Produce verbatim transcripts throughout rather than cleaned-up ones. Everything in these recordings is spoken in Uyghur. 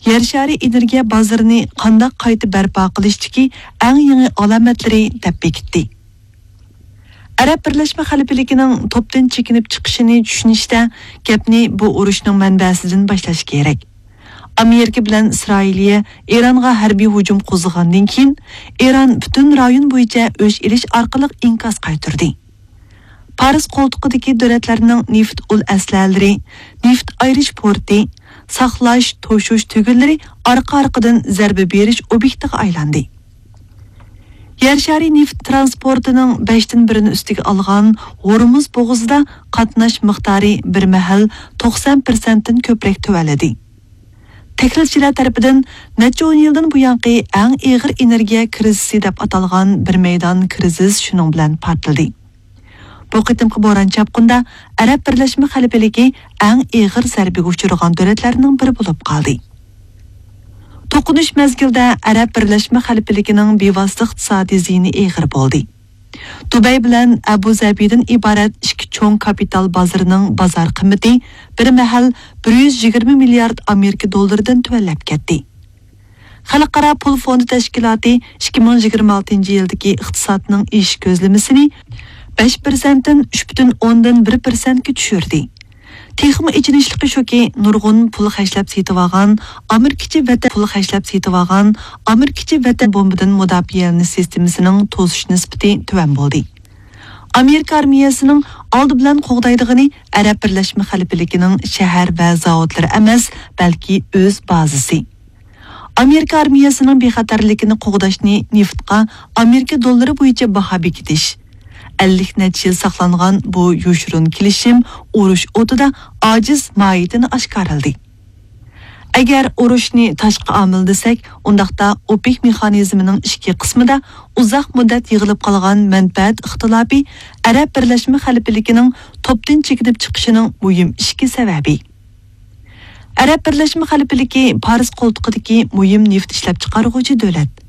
يەر شارى ئېنېرگىيە بازىرىنى قانداق قايتا بەرپا قىلىشتىكى ئەڭ يېڭى ئالامەتلىرى دەپ بېكىتتى. ئەرەب بىرلەشمە خەلىپىلىكىنىڭ توپتىن چېكىنىپ چىقىشىنى چۈشىنىشتە، گەپنى بۇ ئۇرۇشنىڭ مەنبەسىدىن باشلاش كېرەك. ئامېرىكا بىلەن ئىسرائىلىيە ئىرانغا ھەربىي ھۇجۇم قوزغىغاندىن كېيىن، ئىران پۈتۈن رايون بويىچە ئۆچ ئېلىش ئارقىلىق ئىنكاس قايتۇردى. پارس قولتۇقىدىكى دۆلەتلەرنىڭ نېفىت ئۇل ئەسلىھەلىرى، نېفىت ئايرىش پورتى، ساقلاش، توشۇش تۈگۈنلىرى ئارقا-ئارقىدىن زەربە بېرىش ئوبيېكتىغا ئايلاندى. يەر شارى نېفىت ترانسپورتىنىڭ بەشتىن بىرىنى ئۈستىگە ئالغان ھورمۇز بوغۇزىدا قاتناش مىقدارى بىر مەھەل توقسان پىرسەنتتىن كۆپرەك تۆۋەنلىدى. تەھلىلچىلەر تەرىپىدىن نەچچە ئون يىلدىن بۇيانقى ئەڭ ئېغىر ئېنېرگىيە كىرىزىسى دەپ ئاتالغان بىر مەيدان كىرىزىس شۇنىڭ بىلەن پارتلىدى. بۇ قېتىمقى بوران چاپقۇندا ئەرەب بىرلەشمە خەلىپىلىكى ئەڭ ئېغىر زەربىگە ئۇچرىغان دۆلەتلەرنىڭ بىرى بولۇپ قالدى. توقۇنۇش مەزگىلىدە ئەرەب بىرلەشمە خەلىپىلىكىنىڭ بىۋاسىتە ئىقتىسادىي زىيىنى ئېغىر بولدى. دۇبەي بىلەن ئەبۇ زەبىدىن ئىبارەت ئىككى چوڭ كاپىتال بازىرىنىڭ بازار قىممىتى بىر مەھەل بىر يۈز يىگىرمە مىليارد ئامېرىكا دوللىرىدىن تۆۋەنلەپ كەتتى. خەلقئارا پۇل فوندى تەشكىلاتى ئىككى مىڭ يىگىرمە ئالتىنچى يىلدىكى ئىقتىسادنىڭ ئېشىش كۆزلىمىسىنى بەش پىرسەنتتىن ئۈچ پۈتۈن ئوندىن بىر پىرسەنتكە چۈشۈردى. تېخىمۇ ئېچىنىشلىقى شۇكى، نۇرغۇن پۇل خەجلەپ سېتىۋالغان ئامېرىكىچە ۋەتەن پۇل خەجلەپ سېتىۋالغان ئامېرىكىچە ۋەتەن بومبىدىن مۇداپىئەلىنىش سىستېمىسىنىڭ توسۇش نىسبىتى تۆۋەن بولدى. ئامېرىكا ئارمىيەسىنىڭ ئالدى بىلەن قوغدايدىغىنى ئەرەب بىرلەشمە خەلىپىلىكىنىڭ شەھەر ۋە زاۋۇتلىرى ئەمەس، بەلكى ئۆز بازىسى. ئامېرىكا ئارمىيەسىنىڭ بىخەتەرلىكىنى قوغداشنى نېفىتقا ئامېرىكا دوللىرى بويىچە باھا بېكىتىش. ئەللىك نەچچە يىل ساقلانغان بۇ يوشۇرۇن كېلىشىم ئۇرۇش ئوتىدا ئاجىز ماھىيىتىنى ئاشكارىلىدى. ئەگەر ئۇرۇشنى تاشقى ئامىل دېسەك، ئۇنداقتا ئوپېك مېخانىزمىنىڭ ئىچكى قىسمىدا ئۇزاق مۇددەت يىغىلىپ قالغان مەنپەئەت ئىختىلاپى ئەرەب بىرلەشمە خەلىپىلىكىنىڭ توپتىن چېكىنىپ چىقىشىنىڭ مۇھىم ئىچكى سەۋەبى. ئەرەب بىرلەشمە خەلىپىلىكى پارس قولتۇقىدىكى مۇھىم نېفىت ئىشلەپچىقارغۇچى دۆلەت.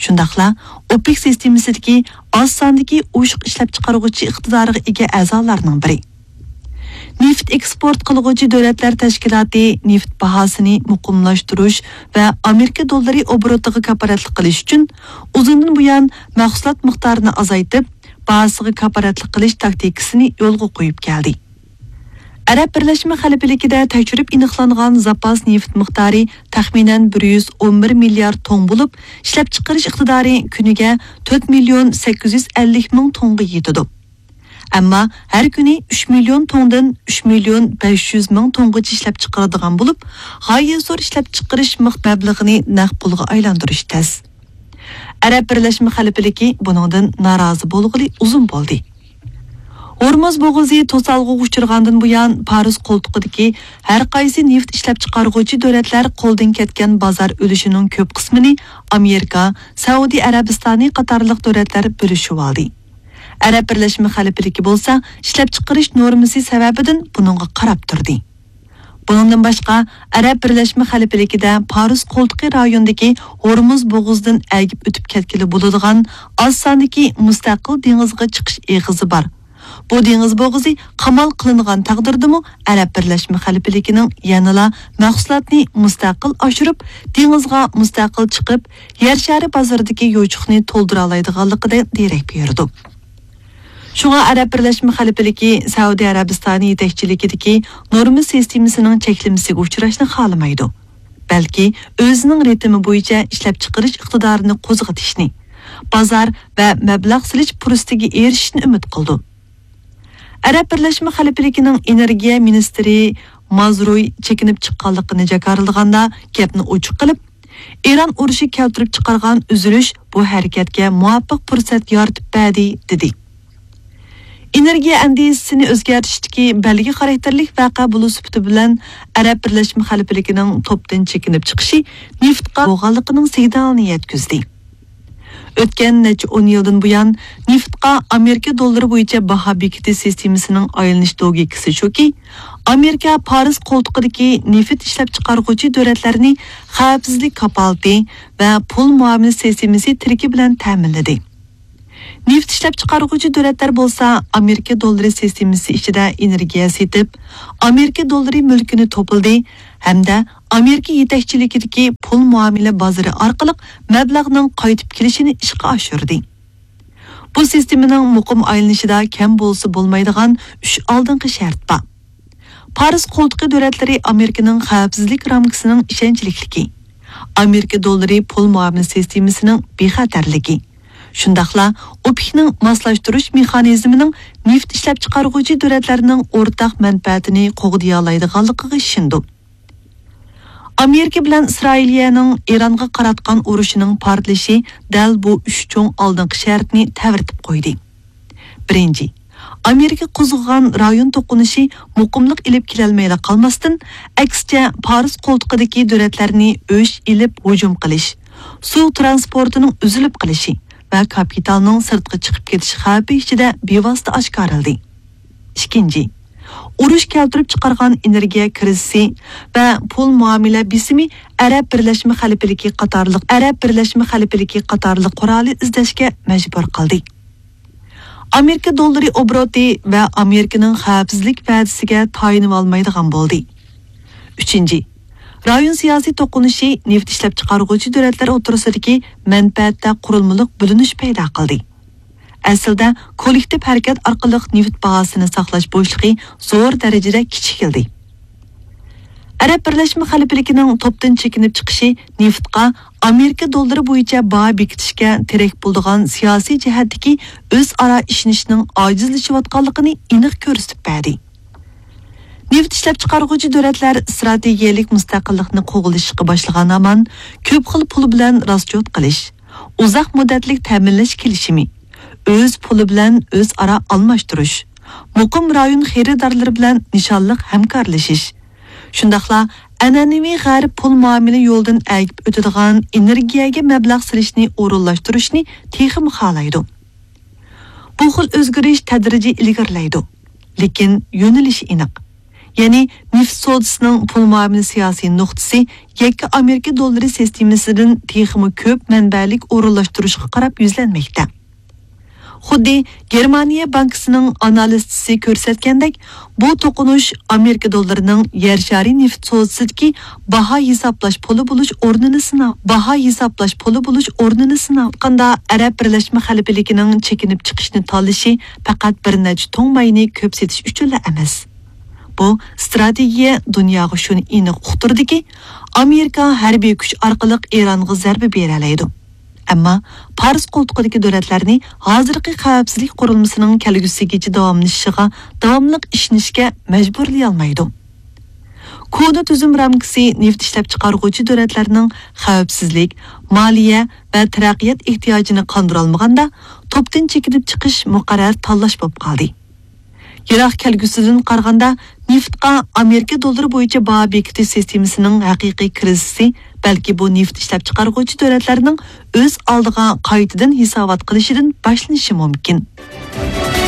شۇنداقلا ئوپېك سىستېمىسىدىكى ئاز ساندىكى ئوشۇق ئىشلەپچىقارغۇچى ئىقتىدارىغا ئىگە ئەزالارنىڭ بىرى. نېفىت ئېكسپورت قىلغۇچى دۆلەتلەر تەشكىلاتى نېفىت باھاسىنى مۇقىملاشتۇرۇش ۋە ئامېرىكا دوللىرى ئوبوروتىغا كاپالەتلىك قىلىش ئۈچۈن ئۇزۇندىن بۇيان مەھسۇلات مىقدارىنى ئازايتىپ، باھاسىغا كاپالەتلىك قىلىش تاكتىكىسىنى يولغا قويۇپ كەلدى. ئەرەب بىرلەشمە خەلىپىلىكىدە تەكشۈرۈپ ئېنىقلانغان زاپاس نېفىت مىقدارى تەخمىنەن بىر يۈز ئون بىر مىليارد توننا بولۇپ، ئىشلەپچىقىرىش ئىقتىدارى كۈنىگە تۆت مىليون سەككىز يۈز ئەللىك مىڭ توننىغا يېتىدۇ. ئەمما ھەر كۈنى ئۈچ مىليون توننىدىن ئۈچ مىليون بەش يۈز مىڭ توننىغىچە ئىشلەپچىقىرىدىغان بولۇپ، غايەت زور ئىشلەپچىقىرىش مىق-، مەبلىغىنى نەق پۇلغا ئايلاندۇرۇش تەس. ئەرەب بىرلەشمە خەلىپىلىكى بۇنىڭدىن نارازى بولغىلى ئۇزۇن بولدى. ھورمۇز بوغۇزى توسالغۇغا ئۇچرىغاندىن بۇيان، پارس قولتۇقىدىكى ھەر قايسى نېفىت ئىشلەپچىقارغۇچى دۆلەتلەر قولدىن كەتكەن بازار ئۈلۈشىنىڭ كۆپ قىسمىنى ئامېرىكا، سەئۇدى ئەرەبىستانى قاتارلىق دۆلەتلەر بۆلۈشۈۋالدى. ئەرەب بىرلەشمە خەلىپىلىكى بولسا ئىشلەپچىقىرىش نورمىسى سەۋەبىدىن بۇنىڭغا قاراپ تۇردى. بۇنىڭدىن باشقا، ئەرەب بىرلەشمە خەلىپىلىكىدە پارس قولتۇقى رايونىدىكى ھورمۇز بوغۇزىدىن ئەگىپ ئۆتۈپ كەتكىلى بولىدىغان ئاز ساندىكى مۇستەقىل دېڭىزغا چىقىش ئېغىزى بار. بۇ دېڭىز بوغۇزى قامال قىلىنغان تەقدىردىمۇ، ئەرەب بىرلەشمە خەلىپىلىكىنىڭ يەنىلا مەھسۇلاتنى مۇستەقىل ئاشۇرۇپ، دېڭىزغا مۇستەقىل چىقىپ، يەر شارى بازىرىدىكى يوچۇقنى تولدۇرالايدىغانلىقىدىن دېرەك بېرىدۇ. شۇڭا ئەرەب بىرلەشمە خەلىپىلىكى سەئۇدى ئەرەبىستانى يېتەكچىلىكىدىكى نورما سىستېمىسىنىڭ چەكلىمىسىگە ئۇچراشنى خالىمايدۇ، بەلكى ئۆزىنىڭ رىتىمى بويىچە ئىشلەپچىقىرىش ئىقتىدارىنى قوزغىتىشنى، بازار ۋە مەبلەغ سېلىش پۇرسىتىگە ئېرىشىشنى ئۈمىد قىلىدۇ. ئەرەب بىرلەشمە خەلىپىلىكىنىڭ ئېنېرگىيە مىنىستىرى مازروي چېكىنىپ چىققانلىقىنى جاكارلىغاندا، گەپنى ئوچۇق قىلىپ، ئىران ئۇرۇشى كەلتۈرۈپ چىقارغان ئۈزۈلۈش بۇ ھەرىكەتكە مۇۋاپىق پۇرسەت يارىتىپ بەردى، دېدى. ئېنېرگىيە ئەندىزىسىنى ئۆزگەرتىشتىكى بەلگە خاراكتېرلىك ۋەقە بولۇش سۈپىتى بىلەن، ئەرەب بىرلەشمە خەلىپىلىكىنىڭ توپتىن چېكىنىپ چىقىشى نېفىتقا بولغانلىقىنىڭ سىگنالىنى يەتكۈزدى. ئۆتكەن نەچچە ئون يىلدىن بۇيان، نېفىتقا ئامېرىكا دوللىرى بويىچە باھا بېكىتىش سىستېمىسىنىڭ ئايلىنىش لوگىكىسى شۇكى، ئامېرىكا پارس قولتۇقىدىكى نېفىت ئىشلەپچىقارغۇچى دۆلەتلەرنى خەۋپسىزلىك كاپالىتى ۋە پۇل مۇئامىلە سىستېمىسى تىرىكى بىلەن تەمىنلىدى. نېفىت ئىشلەپچىقارغۇچى دۆلەتلەر بولسا ئامېرىكا دوللىرى سىستېمىسى ئىچىدە ئېنېرگىيە سېتىپ، ئامېرىكا دوللىرى مۈلكىنى توپلىدى ھەمدە ئامېرىكا يېتەكچىلىكىدىكى پۇل مۇئامىلە بازىرى ئارقىلىق مەبلەغنىڭ قايتىپ كېلىشىنى ئىشقا ئاشۇردى. بۇ سىستېمىنىڭ مۇقىم ئايلىنىشىدا كەم بولسا بولمايدىغان ئۈچ ئالدىنقى شەرت بار. پارس قولتۇقى دۆلەتلىرى ئامېرىكىنىڭ خەۋپسىزلىك رامكىسىنىڭ ئىشەنچلىكلىكى، ئامېرىكا دوللىرى پۇل مۇئامىلە سىستېمىسىنىڭ بىخەتەرلىكى، شۇنداقلا ئوپېكنىڭ ماسلاشتۇرۇش مېخانىزمىنىڭ نېفىت ئىشلەپچىقارغۇچى دۆلەتلەرنىڭ ئورتاق مەنپەئەتىنى قوغدىيالايدىغانلىقىغا ئىشىنىدۇ. ئامېرىكا بىلەن ئىسرائىلىيەنىڭ ئىرانغا قاراتقان ئۇرۇشىنىڭ پارتلىشى دەل بۇ ئۈچ چوڭ ئالدىنقى شەرتنى تەۋرىتىپ قويدى. بىرىنچى، ئامېرىكا قوزغىغان رايون توقۇنۇشى مۇقىملىق ئېلىپ كېلەلمەيلا قالماستىن، ئەكسىچە، پارس قولتۇقىدىكى دۆلەتلەرنى ئۆچ ئېلىپ ھۇجۇم قىلىش، سۇ ترانسپورتىنىڭ ئۈزۈلۈپ قېلىشى ۋە كاپىتالنىڭ سىرتقا چىقىپ كېتىش خەۋپى ئىچىدە بىۋاسىتە ئاشكارىلىدى. ئىككىنچى، ئۇرۇش كەلتۈرۈپ چىقارغان ئېنېرگىيە كىرىزىسى ۋە پۇل مۇئامىلە بېسىمى ئەرەب بىرلەشمە خەلىپىلىكى قاتارلىق، ئەرەب بىرلەشمە خەلىپىلىكى قاتارلىق قورالى ئىزدەشكە مەجبۇر قىلدى. ئامېرىكا دوللىرى ئوبوروتى ۋە ئامېرىكىنىڭ خەۋپسىزلىك ۋەدىسىگە تايىنىۋالمايدىغان بولدى. ئۈچىنچى، رايون سىياسىي توقۇنۇشى نېفىت ئىشلەپچىقارغۇچى دۆلەتلەر ئوتتۇرىسىدىكى مەنپەئەتتە قۇرۇلمىلىق بۆلۈنۈش پەيدا قىلدى. ئەسلىدە، كوللېكتىپ ھەرىكەت ئارقىلىق نېفىت باھاسىنى ساقلاش بوشلۇقى زور دەرىجىدە كىچىكلىدى. ئەرەب بىرلەشمە خەلىپىلىكىنىڭ توپتىن چېكىنىپ چىقىشى نېفىتقا ئامېرىكا دوللىرى بويىچە باھا بېكىتىشكە تىرەك بولىدىغان سىياسىي جەھەتتىكى ئۆزئارا ئىشىنىشنىڭ ئاجىزلىشىۋاتقانلىقىنى ئېنىق كۆرسىتىپ بەردى. نېفىت ئىشلەپچىقارغۇچى دۆلەتلەر ئىستراتېگىيەلىك مۇستەقىللىقنى قوغلىشىشقا باشلىغان ھامان، كۆپ خىل پۇل بىلەن راسچوت قىلىش، ئۇزاق مۇددەتلىك تەمىنلەش كېلىشىمى، ئۆز پۇلى بىلەن ئۆزئارا ئالماشتۇرۇش، مۇقىم رايون خېرىدارلىرى بىلەن نىشانلىق ھەمكارلىشىش، شۇنداقلا ئەنئەنىۋى غەرب پۇل مۇئامىلە يولىدىن ئەگىپ ئۆتىدىغان ئېنېرگىيەگە مەبلەغ سېلىشنى ئورۇنلاشتۇرۇشنى تېخىمۇ خالايدۇ. بۇ خىل ئۆزگىرىش تەدرىجىي ئىلگىرىلەيدۇ، لېكىن يۆنىلىشى ئېنىق. يەنى نېفىت سودىسىنىڭ پۇل مۇئامىلە سىياسىي نۇقتىسى يەككە ئامېرىكا دوللىرى سىستېمىسىدىن تېخىمۇ كۆپ مەنبەلىك ئورۇنلاشتۇرۇشقا قاراپ يۈزلەنمەكتە. خۇددى گېرمانىيە بانكىسىنىڭ ئانالىزچىسى كۆرسەتكەندەك، بۇ توقۇنۇش ئامېرىكا دوللىرىنىڭ يەر شارى نېفىت سودىسىدىكى باھا ھېسابلاش پۇلى بولۇش ئورنىنى سىناپ، باھا ھېسابلاش پۇلى بولۇش ئورنىنى سىناپ. ئەرەب بىرلەشمە خەلىپىلىكىنىڭ چېكىنىپ چىقىشنى تاللىشى پەقەت بىر نەچچە تۇڭ ماينى كۆپ سېتىش ئۈچۈنلا ئەمەس. بۇ ئىستراتېگىيە دۇنياغا شۇنى ئېنىق ئۇقتۇردىكى، ئامېرىكا ھەربىي كۈچ ئارقىلىق ئىرانغا زەربە بېرەلەيدۇ. ئەمما پارس قولتۇقىدىكى دۆلەتلەرنى ھازىرقى خەۋپسىزلىك قۇرۇلمىسىنىڭ كەلگۈسىگىچە داۋاملىشىشىغا داۋاملىق ئىشىنىشكە مەجبۇرلىيالمايدۇ. كونا تۈزۈم رامكىسى نېفىت ئىشلەپچىقارغۇچى دۆلەتلەرنىڭ خەۋپسىزلىك، مالىيە ۋە تەرەققىيات ئېھتىياجىنى قاندۇرالمىغاندا، توپتىن چېكىنىپ چىقىش مۇقەررەر تاللاش بولۇپ قالدى. يىراق كەلگۈسىدىن قارىغاندا، نېفىتقا ئامېرىكا دوللىرى بويىچە باھا بېكىتىش سىستېمىسىنىڭ ھەقىقىي كىرىزىسى، بەلكى بۇ نېفىت ئىشلەپچىقارغۇچى دۆلەتلەرنىڭ ئۆز ئالدىغا قايتىدىن ھېسابات قىلىشىدىن باشلىنىشى مۇمكىن.